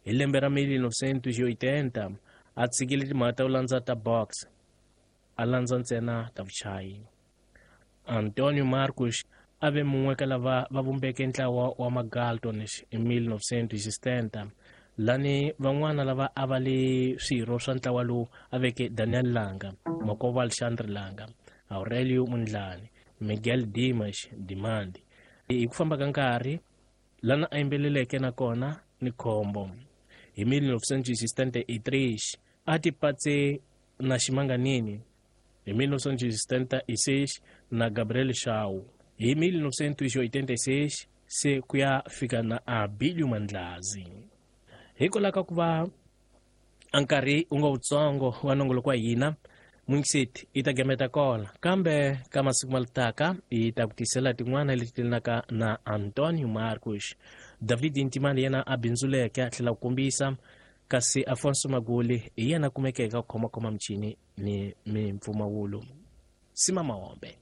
Hi lembe ra 1980 a tshikile timhaka ta ku landza ta box, a landza ntsena ta vuchayi. Antonio Marcos a ve mun'we ka lava va vumbeke ntlawa wa Magaltons hi 1970, lani van'wana lava a va li swirho swa ntlawa lowu a veke Daniel Langa, makwavo Alexandre Langa, Aurelio Mundlani, Miguel Dimas Dimandi. Hi ku famba ka nkarhi lana a yimbeleleke na kona ni khombo. Hi 1963 a tipatse na Ximanganini, hi 1976 na Gabriel Shaw, hi 1986 se ku ya fika na Abilio Mandlazi. Hikwalaho ka ku va a nkarhi wu nga wutsongo wa nongoloko wa hina, Mungiseti yi ta gameta kona, kambe ka masiku ma taka yi ta ku tisela tin'wana leti telanaka na Antonio Marcos. David Ntimani yena a bindzuleke a tlhela ku kombisa, kasi Afonso Maguli hi yena kumekeke ku khomakhoma michini ni mimpfumawulo. Sima Mahombe.